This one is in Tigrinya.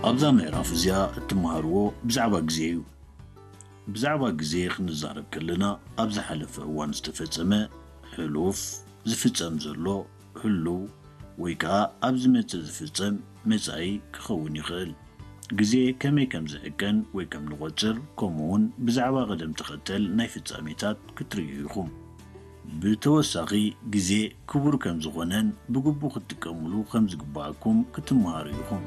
ኣብዛ ምዕራፍ እዚኣ እትመሃርዎ ብዛዕባ ግዜ እዩ። ብዛዕባ ግዜ ክንዛረብ ከለና፣ ኣብ ዝሓለፈ እዋን ዝተፈጸመ፣ ሕሉፍ፣ ዝፍጸም ዘሎ፣ ህሉው፣ ወይ ከኣ ኣብ ዝመጽእ ዝፍጸም፣ መጻኢ፣ ክኸውን ይኽእል። ግዜ ከመይ ከም ዝዕቀን ወይ ከም ንቖጽር፣ ከምኡውን ብዛዕባ ቅደም ተኸተል ናይ ፍጻሜታት ክትርእዩ ኢኹም። ብተወሳኺ፣ ግዜ ክቡር ከም ዝኾነን ብግቡእ ክትጥቀሙሉ ከም ዝግብኣኩም ክትመሃሩ ኢኹም።